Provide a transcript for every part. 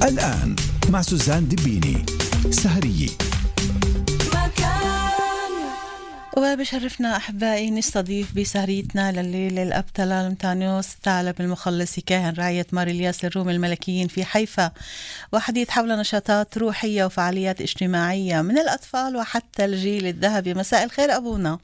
الآن مع سوزان دبيني سهرية. وبشرفنا أحبائي نستضيف بسهريتنا لليلة الأب طلال متانيوس ثعلب المخلص كاهن رعاية مار الياس للروم الملكيين في حيفا، وحديث حول نشاطات روحية وفعاليات اجتماعية من الأطفال وحتى الجيل الذهبي. مساء الخير أبونا.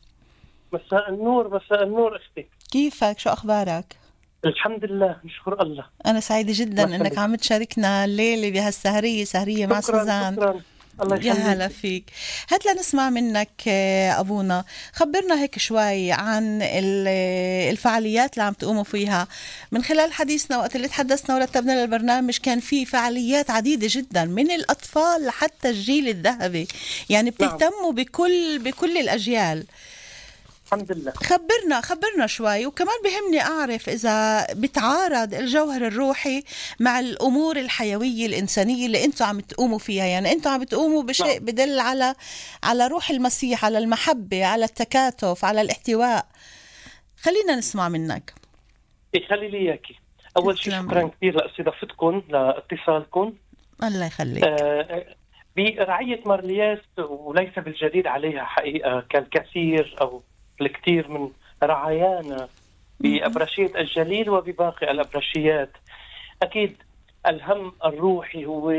مساء النور. مساء النور أختي، كيفك؟ شو أخبارك؟ الحمد لله نشكر الله. أنا سعيدة جدا أنك عم تشاركنا الليلة بهالسهرية، سهرية مع سوزان. شكرا. الله يا هلا فيك. هات لنسمع منك أبونا، خبرنا هيك شوي عن الفعاليات اللي عم تقوموا فيها. من خلال حديثنا وقت اللي تحدثنا ورتبنا للبرنامج كان في فعاليات عديدة جدا من الأطفال لحتى الجيل الذهبي، يعني بتهتموا بكل الأجيال. الحمد لله. خبرنا شوي، وكمان بهمني أعرف إذا بتعارض الجوهر الروحي مع الأمور الحيوية الإنسانية اللي أنتوا عم تقوموا فيها. يعني أنتوا عم تقوموا بشيء بدل على روح المسيح، على المحبة، على التكاتف، على الاحتواء. خلينا نسمع منك. خلي لي إياكي. أول شيء شكرا كثير لاستضافتكم، لاتصالكم. الله يخليك. برعية مار الياس، وليس بالجديد عليها حقيقة، كالكثير أو الكثير من رعايانا بأبرشية الجليل وبباقي الأبرشيات. أكيد الهم الروحي هو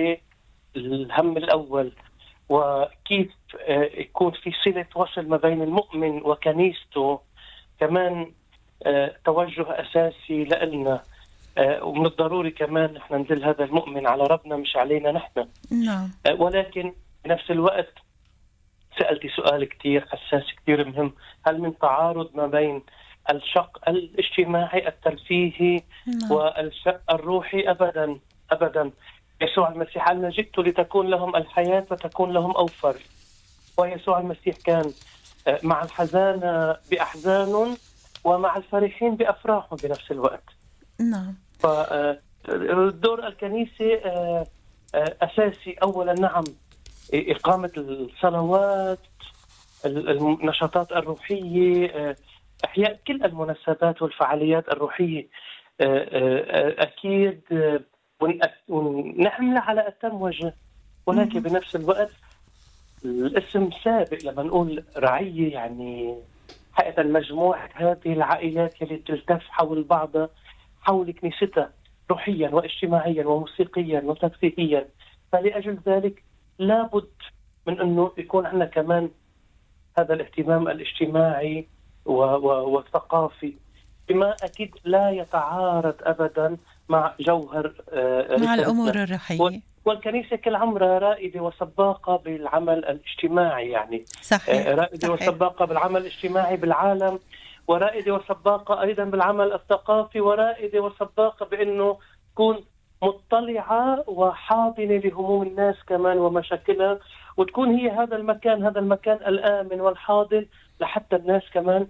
الهم الأول، وكيف يكون في صلة وصل ما بين المؤمن وكنيسته كمان توجه أساسي لنا، ومن الضروري كمان نحن ندل هذا المؤمن على ربنا مش علينا نحن. نعم. ولكن بنفس الوقت سألتي سؤال كتير حساس كتير مهم، هل من تعارض ما بين الشق الاجتماعي الترفيهي والشق الروحي؟ أبدا أبدا. يسوع المسيح قال: جئت لتكون لهم الحياة وتكون لهم أوفر. ويسوع المسيح كان مع الحزانة بأحزان ومع الفرحين بأفراحهم بنفس الوقت. نعم. فدور الكنيسة أساسي أولا، نعم، إقامة الصلوات، النشاطات الروحية، إحياء كل المناسبات والفعاليات الروحية، أكيد، ونحمل على أتم وجه. ولكن بنفس الوقت الاسم سابق لما نقول رعية، يعني حقيقة مجموعة هذه العائلات اللي تلتف حول بعضها، حول كنيستها روحيا واجتماعيا وموسيقيا وترفيهيا. فلأجل ذلك لابد من أنه يكون عندنا كمان هذا الاهتمام الاجتماعي والثقافي، بما أكيد لا يتعارض أبدا مع جوهر مع الأمور الروحية. والكنيسة كل عمرها رائدة وسباقة بالعمل الاجتماعي، يعني صحيح. رائدة وسباقة بالعمل الاجتماعي بالعالم، ورائدة وسباقة أيضا بالعمل الثقافي، ورائدة وسباقة بأنه تكون مطلعة وحاضنة لهموم الناس كمان ومشاكلها، وتكون هي هذا المكان الآمن والحاضن لحتى الناس كمان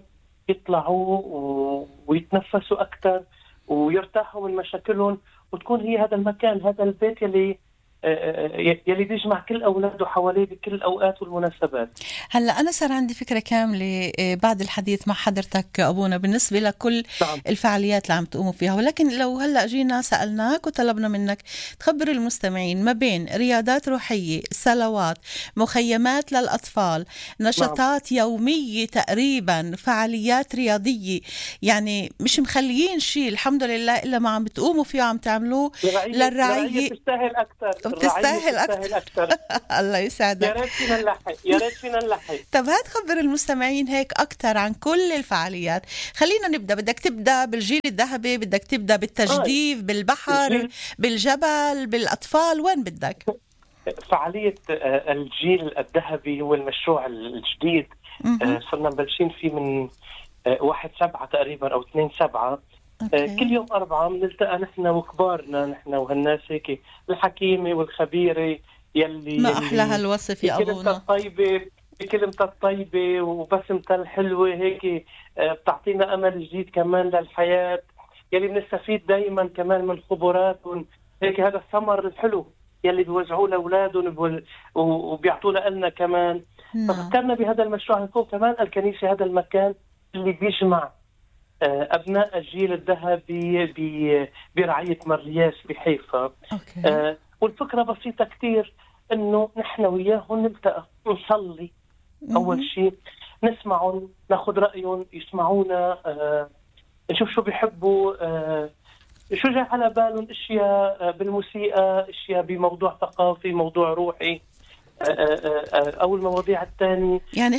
يطلعوا ويتنفسوا أكثر ويرتاحوا من مشاكلهم، وتكون هي هذا المكان، هذا البيت يلي بيجمع كل أولاده حواليه بكل الأوقات والمناسبات. هلأ أنا صار عندي فكرة كاملة بعد الحديث مع حضرتك أبونا بالنسبة لكل الفعاليات اللي عم تقوموا فيها، ولكن لو هلأ جينا سألناك وطلبنا منك تخبر المستمعين ما بين رياضات روحية، صلوات، مخيمات للأطفال، نشاطات يومية تقريبا، فعاليات رياضية، يعني مش مخليين شيء الحمد لله إلا ما عم بتقوموا فيه وعم تعملوه للرعاية. تستاهل أكثر. تستاهل أكثر. الله يسعدك. يا ريت فينا نلحق. طب هات خبر المستمعين هيك أكثر عن كل الفعاليات. خلينا نبدأ. بدك تبدأ بالجيل الذهبي، بدك تبدأ بالتجديف، بالبحر، بالجبل، بالأطفال، وين بدك؟ فعالية الجيل الذهبي هو المشروع الجديد. صرنا مبلشين فيه من 1/7 تقريبا أو 2/7. كل يوم 4 بنلتقى نحن وكبارنا، نحن وهالناس هيك الحكيمة والخبيرة يلي ما أحلى هالوصف يا أبونا، بكلمتها الطيبة وبسمتها الحلوة هيك بتعطينا أمل جديد كمان للحياة، يلي بنستفيد دايما كمان من خبراتهم هيك. هذا الثمر الحلو يلي بيوزعوه لأولادهم وبيعطونا لنا كمان. ففكرنا بهذا المشروع نكون كمان الكنيسة هذا المكان اللي بيجمع أبناء الجيل الذهبي برعاية مار الياس بحيفا. والفكرة بسيطة كتير، إنه نحن وياهم نلتقى نصلي أول شيء، نسمعهم، ناخد رأيهم، يسمعونا، نشوف شو بيحبوا، شو جاي على بالهم، اشياء بالموسيقى، اشياء بموضوع ثقافي، موضوع روحي، او المواضيع الثانية. يعني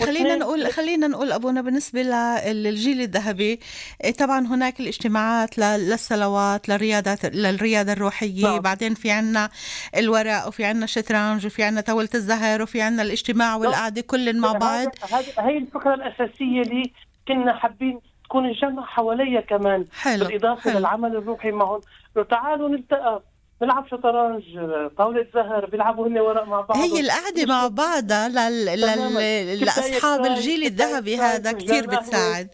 خلينا نقول أبونا بالنسبة للجيل الذهبي، طبعا هناك الاجتماعات للصلوات، للرياضة الروحية. نعم. بعدين في عنا الورق، وفي عنا الشطرنج، وفي عنا طاولة الزهر، وفي عنا الاجتماع والقعدة كل مع بعض. هاي الفكرة الأساسية اللي كنا حابين تكون الجمع حواليها كمان. حلو. بالإضافة للعمل الروحي معهم، تعالوا نلتقى نلعب شطرنج، طاولة زهر، بيلعبوا هن ورق مع بعض. هي القعدة مع بعضها لأصحاب الجيل الذهبي هذا كتير بتساعد.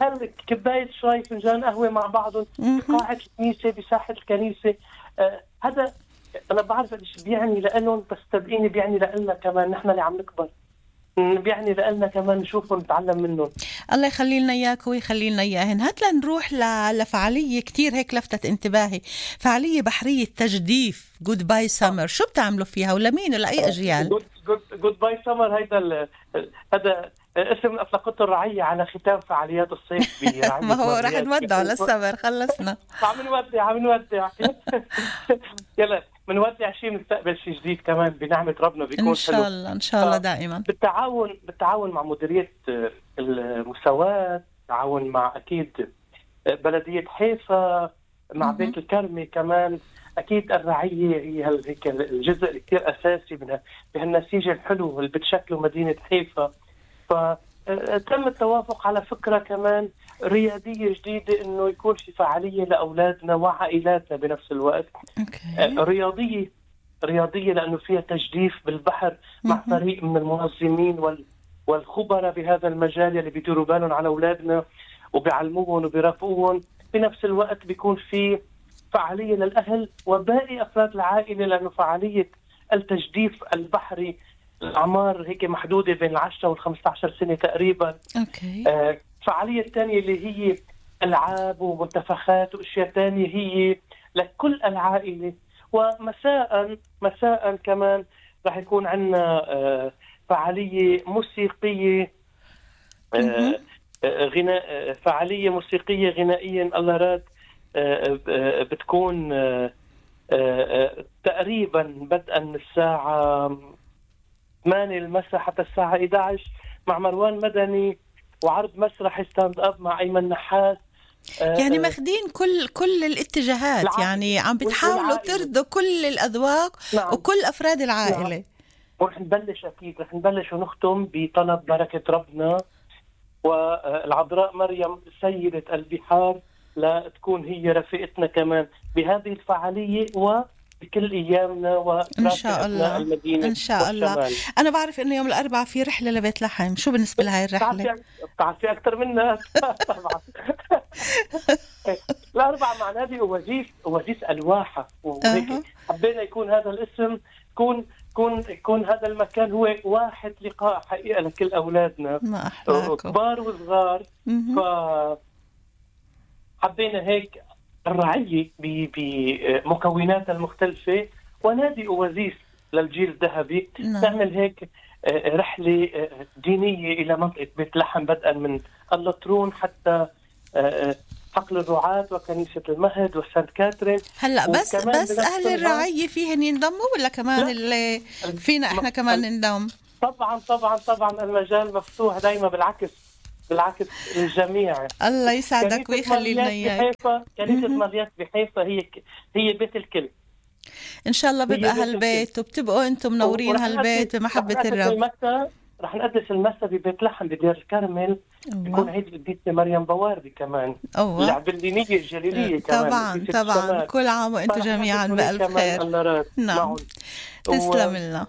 هل كباية شاي، فنجان قهوة مع بعضهم بقاعة الكنيسة، بساحة الكنيسة. هذا أنا بعرف إيش بيعني لأنهم، بس صدقيني بيعني لنا كمان، نحن اللي عم نكبر، بيعني لنا كمان نشوفهم نتعلم منهم. الله يخلي لنا إياك ويخلي لنا إياهن. هات لنروح لفعالية كتير هيك لفتت انتباهي، فعالية بحرية تجديف جود باي سمر. شو بتعملوا فيها ولمين ولأي أجيال؟ جود باي سمر هذا اسم أطلقته الرعية على ختام فعاليات الصيف برعاية ما هو رح نودع للسمر، خلصنا. عم نودع يلا منودع شيء، نستقبل شيء جديد كمان بنعمة ربنا، بيكون إن شاء الله إن شاء الله دائما بالتعاون مع مديرية المساواة، تعاون مع أكيد بلدية حيفا، مع بيت الكرمة كمان. أكيد الرعية هي هيك الجزء الكثير أساسي بهالنسيج الحلو اللي بتشكله مدينة حيفا. فتم التوافق على فكرة كمان رياضية جديدة، إنه يكون في فعالية لأولادنا وعائلاتنا بنفس الوقت. رياضية لأنه فيها تجديف بالبحر مع فريق من المنظمين والخبراء بهذا المجال اللي بيديروا بالهم على أولادنا وبيعلموهم وبيرافقوهم. بنفس الوقت بيكون في فعالية للأهل وباقي أفراد العائلة، لأنه فعالية التجديف البحري الأعمار هيك محدودة بين 10 و15 سنة تقريبا. فعالية تانية اللي هي ألعاب ومنتفخات وأشياء تانية هي لكل العائلة. ومساء كمان راح يكون عندنا فعالية موسيقية، غناء، فعالية موسيقية غنائية الله راد، بتكون تقريبا بدءا من الساعة 8 المساء حتى الساعة 11 مع مروان مدني، وعرض مسرحي ستاند اب مع أيمن نحاس. يعني ماخدين كل الاتجاهات، يعني عم بتحاولوا ترضوا كل الأذواق. نعم. وكل أفراد العائلة. نعم. ورح نبلش ونختم بطلب بركة ربنا والعذراء مريم سيدة البحار لا تكون هي رفيقتنا كمان بهذه الفعالية وبكل أيامنا إن شاء الله. المدينة إن شاء الله. أنا بعرف إنه يوم الأربعاء في رحلة لبيت لحم. شو بالنسبة لهاي الرحلة؟ بتعرفي أكتر منا طبعا. الأربعاء مع نادي أوازيس الواحة، وهيك حبينا يكون هذا الاسم، يكون هذا المكان هو واحد لقاء حقيقة لكل أولادنا كبار وصغار. حبينا هيك الرعية بمكوناتها المختلفة ونادي أوازيس للجيل الذهبي. نعمل هيك رحلة دينية إلى منطقة بيت لحم، بدءا من اللطرون حتى حقل الرعاة وكنيسة المهد وسانت كاترين. هلا بس أهل الرعية فيهن ينضموا ولا كمان اللي فينا إحنا كمان ننضم؟ طبعا المجال مفتوح دايما، بالعكس الجميع. الله يسعدك ويخلي لنا إياك. كنيسة مريات بحيفا هي بيت الكل. إن شاء الله بيبقى هالبيت وبتبقوا أنتم منورين هالبيت بمحبة الرب. رح نقدس المسا ببيت لحم بدير الكرمل، بيكون عيد القديسة مريم بواردي كمان، العبلينية الجليلية كمان. طبعا كل عام وانتم جميعا بألف خير. نعم تسلم لنا.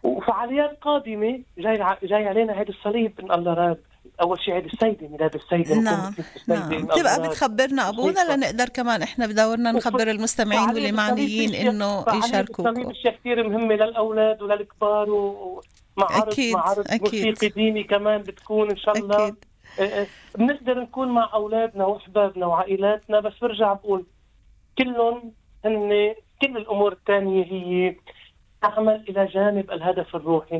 وفعاليات قادمة جاي علينا عيد الصليب إن الله راد. أول شيء عيد السيدة، ميلاد السيدة. نعم. تبقى بتخبرنا أبونا لنقدر كمان إحنا بدورنا نخبر المستمعين واللي معنيين إنه يشاركوكم. الصليب أشياء كثير مهمة للأولاد وللكبار، معرض موسيقي ديني كمان بتكون إن شاء الله. بنقدر نكون مع أولادنا وأحبابنا وعائلاتنا، بس برجع بقول كلهم هن كل الأمور الثانية هي تعمل إلى جانب الهدف الروحي.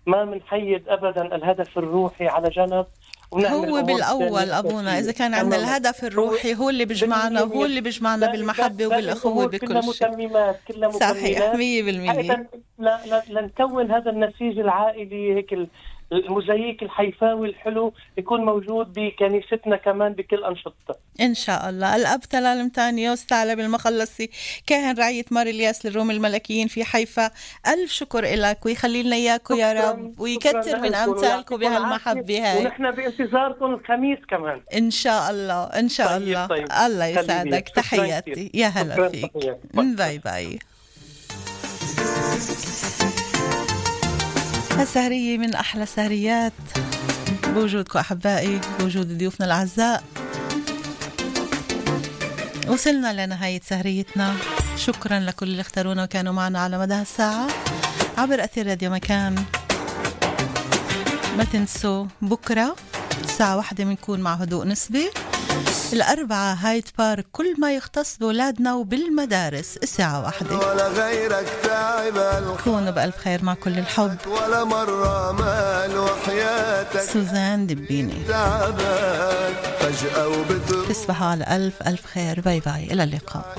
ما منحيد أبدا الهدف الروحي على جنب. هو بالأول أبونا إذا كان عندنا الهدف الروحي هو اللي بيجمعنا، وهو اللي بيجمعنا بالمحبة وبالأخوة بكل شيء. كلها صحيح 100%. لنكون هذا النسيج العائلي، هيك الموزاييك الحيفاوي الحلو يكون موجود بكنيستنا كمان بكل أنشطتها إن شاء الله. الأب تلال متانيوس ثعلب المخلصي كاهن رعية مار الياس للروم الملكيين في حيفا، ألف شكر إلك ويخلي لنا إياكم يا رب ويكتر من أمثالكم بهالمحبة هاي. ونحن بانتظاركم الخميس كمان إن شاء الله إن شاء الله. طيب. الله يسعدك. تحياتي يا هلا فيك. باي باي. السهرية من أحلى سهريات بوجودكم أحبائي، بوجود ضيوفنا الأعزاء. وصلنا لنهاية سهريتنا. شكرا لكل اللي اختارونا وكانوا معنا على مدى الساعة عبر أثير راديو مكان. ما تنسوا بكرة الساعة 1 بنكون مع هدوء نسبي. الأربعة هايد بارك، كل ما يختص بولادنا وبالمدارس الساعة 1. كونوا بألف خير مع كل الحب. سوزان دبيني. تصبحوا على ألف خير. باي باي، إلى اللقاء.